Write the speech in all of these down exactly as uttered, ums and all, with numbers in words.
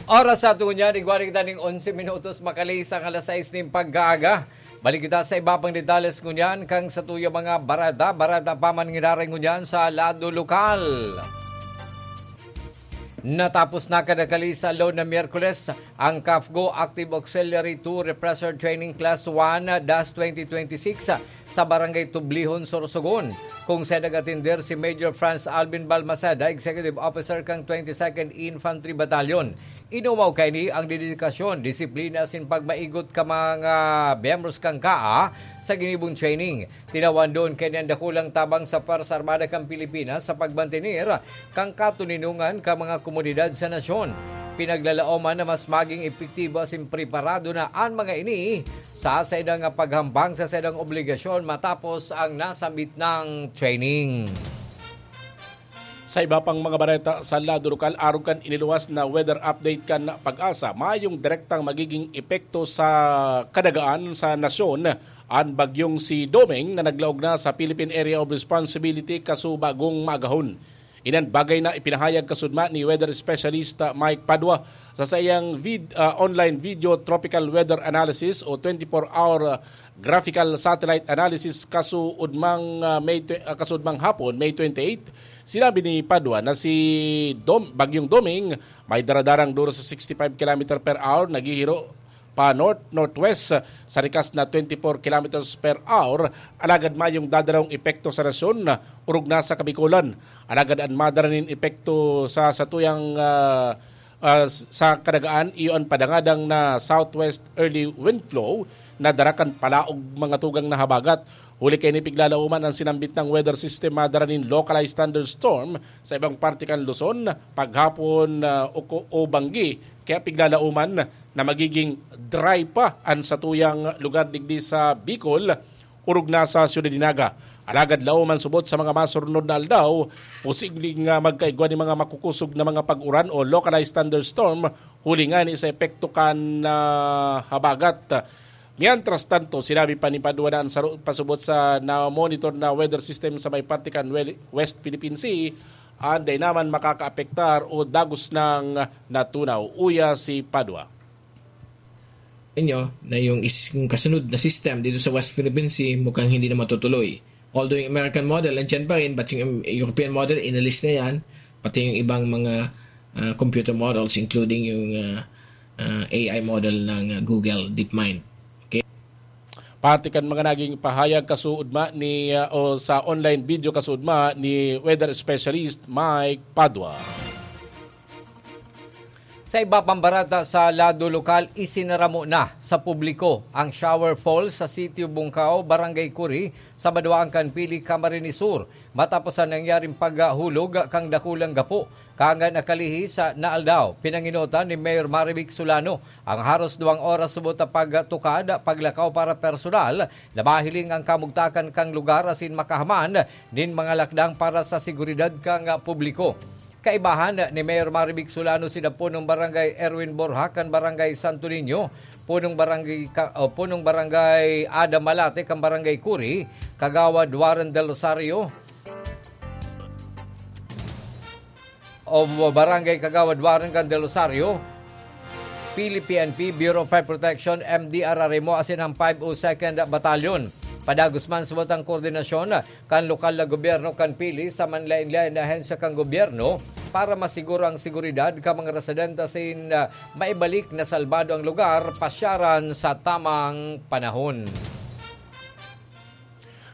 Oras sa ato ngunyan, igwa na kita ning onse minutos, makalihis ang alas sais ning pagkaaga. Balik kita sa iba pang detalles ngunyan, kan satuyang mga bareta, bareta pa man ngiraray ngunyan sa lado lokal. Natapos na kadakali sa aldaw na Miyerkules ang CAFGO Active Auxiliary two Repressor Training Class one dash twenty twenty-six sa Barangay Tublihon, Sorsogon, kung sa nag-atender si Major Franz Alvin Balmaceda, Executive Officer kan twenty-second Infantry Battalion. Inumaw kaini ang dedikasyon, disiplina asin pagmaigot ka mga miyembros kan kaa sa ginibong training. Tinawandon kaini an dakulang tabang sa Pwersa Armada kan Pilipinas sa pagmantener kan katoninongan kan mga komunidad sa nasyon. Pinaglalaoman na mas maging epektibo asin preparado na an mga ini sa saindang paghambang sa saindang obligasyon matapos ang nasambit na training. Sa iba pang mga bareta sa lado lokal, arog kan iniluwas na weather update kan PAGASA, mayong direktang magiging epekto sa kadagaan sa nasyon an bagyong si Doming na naglaog na sa Philippine Area of Responsibility kaso bagong maagahon. Inan bagay na ipinahayag kasudma ni weather specialist, ah, Mike Padua sa saiyang vid-, ah, online video tropical weather analysis o twenty-four hour, ah, graphical satellite analysis kaso udmang, ah, May twe-, ah, kaso udmang hapon, May twenty-eight. Sinabi ni Padua na si Dom-, Bagyong Doming may daradarang duro sa sixty-five kilometer per hour, naghihiro pa north-northwest sa rikas na twenty-four kilometers per hour, alagad mayong dadarong epekto sa nasyon, orog na sa Kabikolan. Alagad an madara nin epekto sa satuyang, ah, ah, sa kadagaan, iyo an padangadang na southwest early wind flow na dara kan palaog mga tugang na habagat. Huli kaini, piglalaoman an sinambit na weather system madara nin localized thunderstorm sa ibang parte kan Luzon, paghapon, ah, o, o banggi. Kaya piglalaoman na magiging dry pa an satuyang lugar digdi sa Bicol, orog na sa Ciudad de Naga. Alagad laoman subot sa mga masurnod na aldaw, posibleng, ah, magkaigwa nin mga makukusog na mga pag-uran o localized thunderstorm, huli ngani sa epekto kan, ah, habagat. Mientras tanto, sinabi pa ni Padua na an saro pasubot sa na-monitor na weather system sa may parte kan wel-, West Philippine Sea, an dai naman makakaapektar o dagos nang natunaw. Uya si Padua. Inyo na yung is-, yung kasunod na system dito sa West Philippine Sea mukhang hindi na matutuloy. Although yung American model, nandiyan pa rin, but yung European model, inalis na yan. Pati yung ibang mga, ah, computer models, including yung, ah, ah, A I model ng, ah, Google DeepMind. Okay? Parte kan mga naging pahayag kasuodma ni, ah, o sa online video kasuodma ni weather specialist Mike Padua. Sa iba pang bareta sa lado lokal, isinaramo na sa publiko ang shower falls sa Sitio Bungkao, Barangay Curi, sa Badoaan kan Pili, Camarines Sur, matapos ang nangyaring paghulog kan dakulang gapo. Kaangga na kalihis na aldaw, pinangenotan ni Mayor Marivic Solano ang haros duwang oras subot na pagtukad, paglakaw para personal na mahiling ang kamugtakan kan lugar asin makahaman nin mga lakdang para sa seguridad kan publiko. Kaibahan ni Mayor Marivic Solano sinda punong barangay Erwin Borja kan Barangay Santo Niño, punong barangay ka-, o punong barangay Adam Malate kan Barangay Curi, Kagawad Warren Del Rosario, o Barangay Kagawad Warren kan Del Rosario, Pili P N P, Bureau of Fire Protection, M D R R M O, asin ang five oh second Battalion. Padagos man subot ang koordinasyon kan lokal na gobyerno kan Pili sa manlaen-laen na ahensya kan gobyerno para masiguro ang seguridad kan mga residente asin, ah, maibalik na salbado ang lugar pasyaran sa tamang panahon.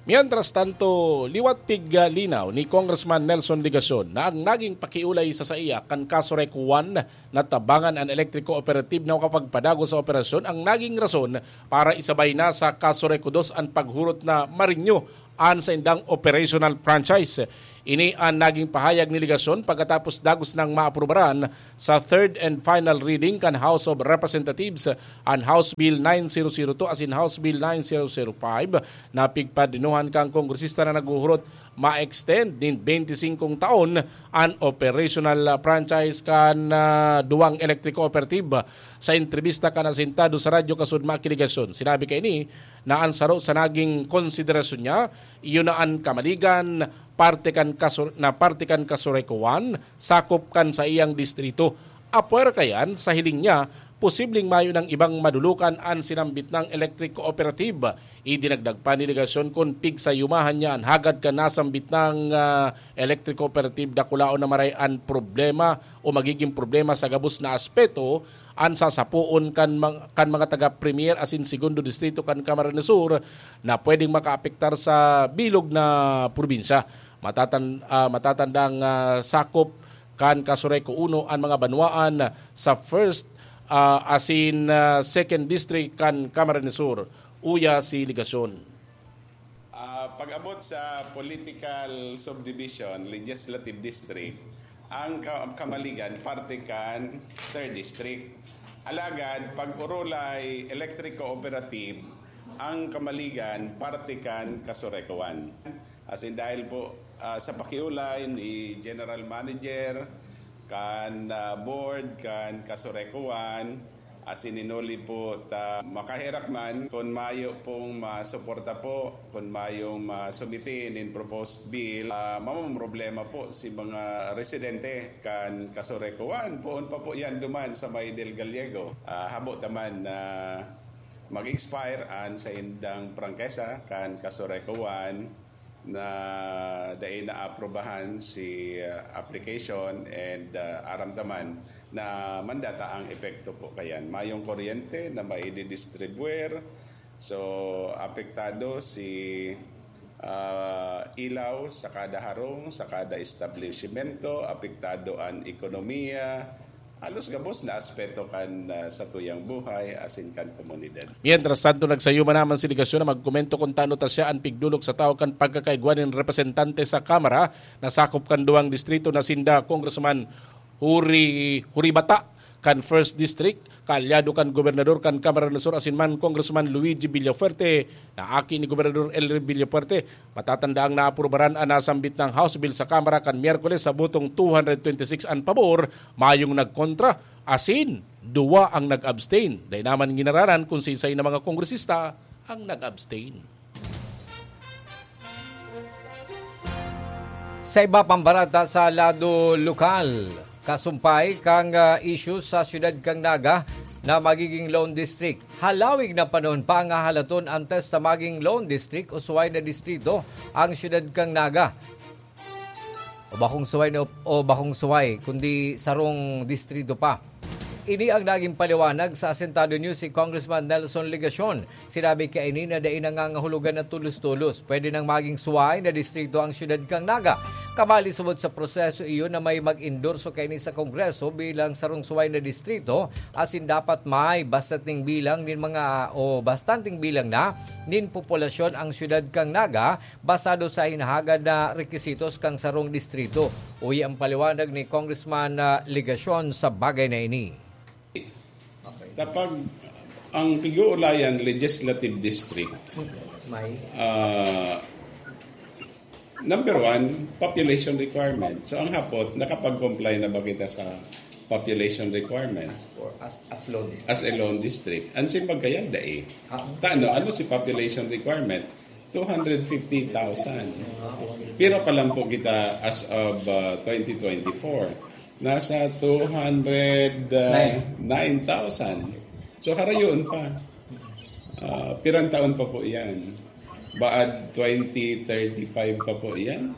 Mientras tanto, liwat piglinaw ni Congressman Nelson Legacion na ang naging pakiolay sa saiya kan Kaso Reco One na tabangan an elektriko operatibo na makapagpadagos sa operasyon ang naging rason para isabay na sa Kaso Reco Dos an paghurot na ma-renew an saindang operational franchise. Ini an naging pahayag ni Legacion pagkatapos dagos nang maaprubaran sa third and final reading kan House of Representatives an House Bill nine zero zero two asin House Bill nine zero zero five na pigpadinuhan kan kongresista na naghuhurot ma-extend nin bente singkong taon an operational franchise kan, ah, duwang electric cooperative. Sa entrebista kan asintado sa radyo kasuodma ki Legacion, sinabi kaini na an saro sa naging konsiderasyon niya, iyo na an Camaligan, parte kan Kaso-, na parte kan Kaso Reco One, sakop kan saiyang distrito. Apwera kayan, sa hiling niya, posibleng mayo nang ibang madulukan an sinambit nang electric cooperative. Idinagdag pa ni Legacion kun pigsayumahan niya an hagad kan nasambit nang, ah, electric cooperative, dakulaon na maray an problema o magiging problema sa gabos na aspeto an sasapoon kan mang-, kan mga taga Premier asin Segundo Distrito kan Camarines Sur na pwedeng makaapektar sa bilog na probinsya. Matatan-, ah, matatandang, ah, sakop kan Casureco Uno an mga banwaan sa first, ah, asin, ah, second district kan Camarines Sur. Uya si Legacion. Ah, pag-abot sa political subdivision, legislative district, ang Ka-, Camaligan parte kan third district. Alagad, pag Orolay Electric Cooperative, ang Camaligan parte kan Casureco One. Asin dahil po, ah, sa pakiulay ni General Manager, kan, ah, board, kan Casureco One, asin hinuli po ta makaherak man, kun mayo pong masuporta po, kun mayong masumiti nin proposed bill, ah, mamomroblema po si mga residente kan Casureco One. Poon pa po yan duman sa may Del Gallego. Ah, habo ta man na mag-expire an saindang prangkesa kan Casureco One na dai naaprubahan si, ah, application and, ah, aram ta man na mandata ang epekto po kayan. Mayong kuryente na maididistribuer, so apektado si, ah, ilaw sa kada harong, sa kada establishmento, apektado an ekonomiya, halos gabos na aspeto kan, ah, satuyang buhay asin kan komunidad. Mientras tanto, nagsayuma naman si Legacion na magkomento kun tano ta siya an pigdolok sa tawo kan pagkakaigwa nin representante sa Kamara na sakop kan duwang distrito na sinda Congressman Huri, Huribata kan First District, kaalyado kan gobernador kan Camarines Sur asin man Congressman Luigi Villafuerte na aki ni Gobernador Elry Villafuerte. Matatanda ang naaprubaran an nasambit nang House Bill sa Kamara kan Miyerkules sa botong two hundred twenty-six an pabor, mayong nagkontra, asin duwa ang nag-abstain. Dai naman ginararan kun siisay na mga kongresista ang nag-abstain. Sa iba pang barata sa lado lokal, kasumpay kan, ah, isyu sa siyudad kan Naga na magiging Lone District. Halawig na panahon pa nga halaton antes na maging Lone District o suway na distrito ang siyudad kan Naga. O bakong suway na, o bakong suway, kundi sarong distrito pa. Ini ang naging paliwanag sa Asentado News si Congressman Nelson Legacion. Sinabi kaini na dai nangangahulugan na tolos-tolos pwede nang maging suway na distrito ang siyudad kan Naga. Kabali subot sa proseso iyo na may mag-endorso kaini sa Kongreso bilang sarong suway na distrito, asin dapat may bastanting bilang nin mga, o bastanting bilang na nin populasyon ang siyudad kan Naga, basado sa hinahagad na rekisitos kan sarong distrito. Uya ang paliwanag ni Congressman, ah, Legacion sa bagay na ini. Kapag ang pag-uulayan legislative district, May ah, number one, population requirement. So, ang hapot, nakapag-comply na ba kita sa population requirement as, for, as, as low district? As a lone district? Ang simpag kaya, dai. Ah, Tano, ano si population requirement? Two hundred fifty thousand. Pero pa lang po kita as of, uh, twenty twenty-four. Nasa two hundred nine thousand. So, harayon pa. Ah, pirang taon pa po yan? Baad twenty thirty-five pa po yan?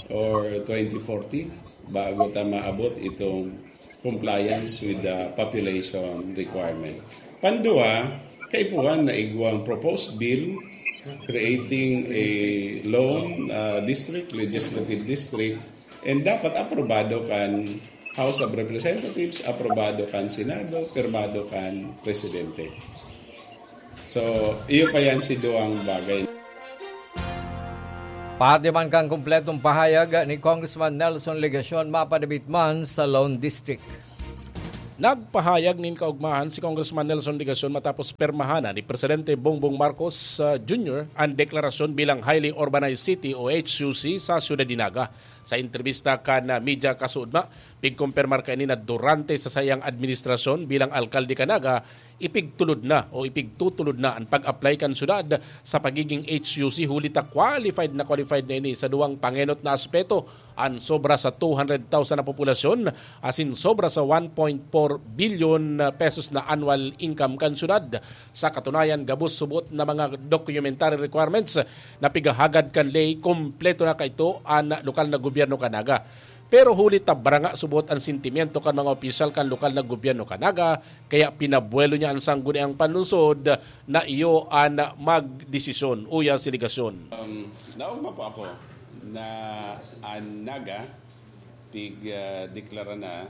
Or twenty forty? Bago ta maabot itong compliance with the population requirement. Pandua, kaipuhan na igwang proposed bill creating a lone, uh, district, legislative district, and dapat aprobado kan House of Representatives, aprobado kan Senado, pirmado kan Presidente. So, iyo pa yan si duwang bagay. Pati man kan kompletong pahayag ni Congressman Nelson Legacion mapadabit man sa Lone District. Nagpahayag nin kaugmahan si Congressman Nelson Legacion matapos permahanan ni Presidente Bongbong Marcos, ah, Junior an deklarasyon bilang Highly Urbanized City o H U C sa Siyudad de Naga. Sa entrebista kan, ah, media kasuodma, Pigkumpirmar kaini na durante sa saiyang administrasyon bilang alkalde kan Naga, ipigtulod na o ipigtutulod na an pag-apply kan syudad sa pagiging H U C, huli ta qualified na qualified na ini sa duwang pangenot na aspeto: an sobra sa two hundred thousand na populasyon asin sobra sa one point four billion pesos na annual income kan syudad. Sa katunayan, gabos subot na mga documentary requirements na pigahagad kan ley, kompleto na kaito an lokal na gobyerno kan Naga. Pero huli ta baranga subot an sentimiento kan mga opisyal kan lokal na gobyerno kan Naga, kaya pinabuelo niya an sangguniang panlungsod na iyo an magdesisyon. Uya si Legacion. Um, naugma po ako na an Naga pig, ah, deklara na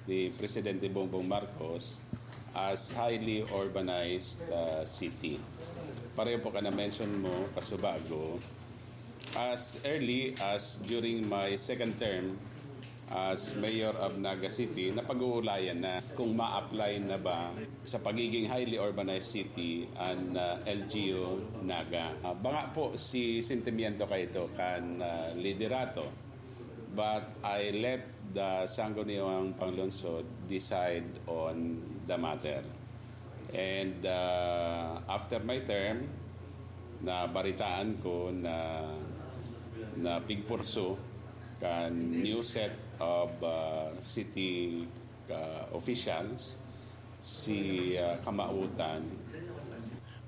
ni Presidente Bongbong Marcos as highly urbanized, ah, city. Pareho po ka na-mention mo, kasubago, as early as during my second term as mayor of Naga City, napag-uulayan na kung ma-apply na ba sa pagiging highly urbanized city an, ah, L G U Naga. Ah, banga po si sentimiento kaito kan, ah, liderato. But I let the Sangguniang Panglungsod decide on the matter. And, uh, after my term, nabaritaan ko na, na pigpurso kan new set of, uh, city, uh, officials si, uh, Kamautan.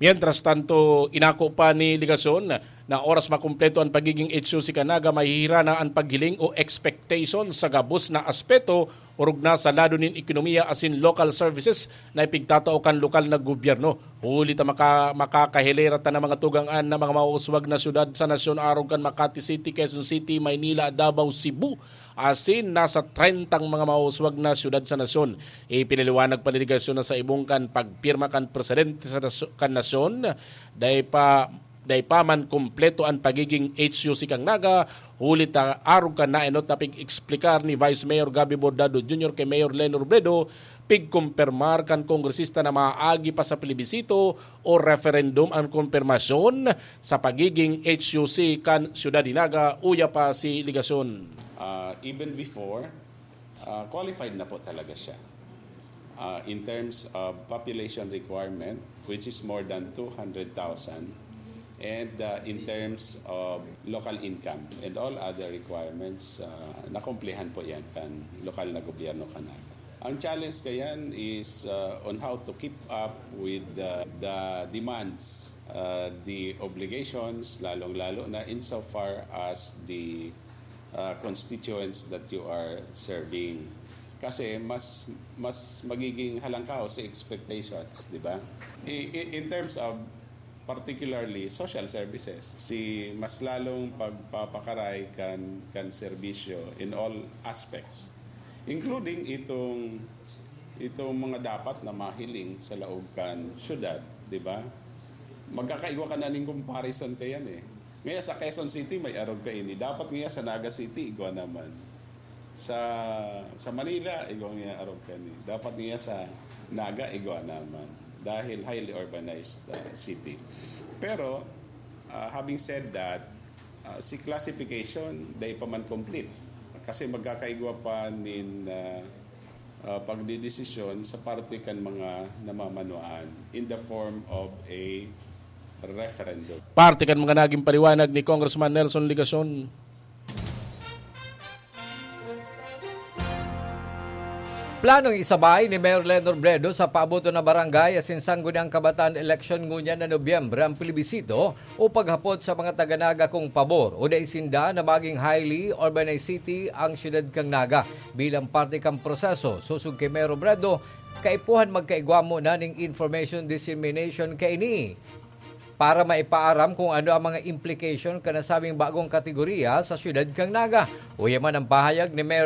Mientras tanto, inako pa ni Legacion na oras makumpleto an pagiging H U C kan Naga, mahihira na an paghiling o expectation sa gabos na aspeto, orog na sa lado nin ekonomiya asin local services na ipigtatao kan lokal na gobyerno. Huli ta maka-, makakahilera ta na mga tugang-an na mga mauswag na syudad sa nasyon, arog kan Makati City, Quezon City, Maynila, Davao, Cebu, asin nasa trentang mga mauswag na syudad sa nasyon. Ipinaliwanag pa ni Legacion na sa ibong kan pagpirma kan presidente sa nasyo-, kan nasyon, dai pa, dai pa man kompleto an pagiging H U C kan Naga, huli ta arog kan naenot na pig-eksplikar ni Vice Mayor Gabby Bordado Junior kay Mayor Leni Robredo, pigkumpirmar kan kongresista na maagi pa sa plebisito o referendum an kumpirmasyon sa pagiging H U C kan Syudad nin Naga. Uya pa si Legacion. Uh, even before, uh, qualified na po talaga siya. Uh, in terms of population requirement, which is more than two hundred thousand, and, uh, in terms of local income and all other requirements, uh, nakumplihan po yan kan lokal na gobyerno kan Naga. Ang challenge kayan is, uh, on how to keep up with the, the demands, uh, the obligations, lalong-lalo na insofar as the, uh, constituents that you are serving. Kasi mas, mas magiging halangkaw si expectations, di ba? I-, i-, in terms of particularly social services, si mas lalong pagpapakaray kan, kan serbisyo in all aspects, including itong, itong mga dapat na mahiling sa laog kan syudad, di ba? Magkakaigwa ka na ning comparison kayan eh. Ngayon sa Quezon City, may arog kaini. Dapat ngayon sa Naga City, igwa naman. Sa, sa Manila, igwa ngayon arog kaini. Dapat ngayon sa Naga, igwa naman. Dahil highly urbanized, uh, city. Pero, uh, having said that, uh, si classification, dai pa man complete. Kasi magkakaigwa pa nin, uh, uh, pagdidesisyon sa parte kan mga namamanuan in the form of a referendum. Parte kan mga naging paliwanag ni Congressman Nelson Legacion. Planong isabay ni Mayor Leni Robredo sa paaboton na barangay asin sangguniang kabataan eleksyon ngunyan na Nobyembre ang plebisito o paghapot sa mga taga Naga kung pabor o dai sinda na maging highly urbanized city ang siyudad kan Naga. Bilang parte kan proseso, sosog ki Mayor Robredo, kaipuhan magkaigwa muna nin information dissemination kaini para maipaaram kung ano ang mga implication kan nasabing bagong kategorya sa siyudad kan Naga. Uya man ang pahayag ni Mayor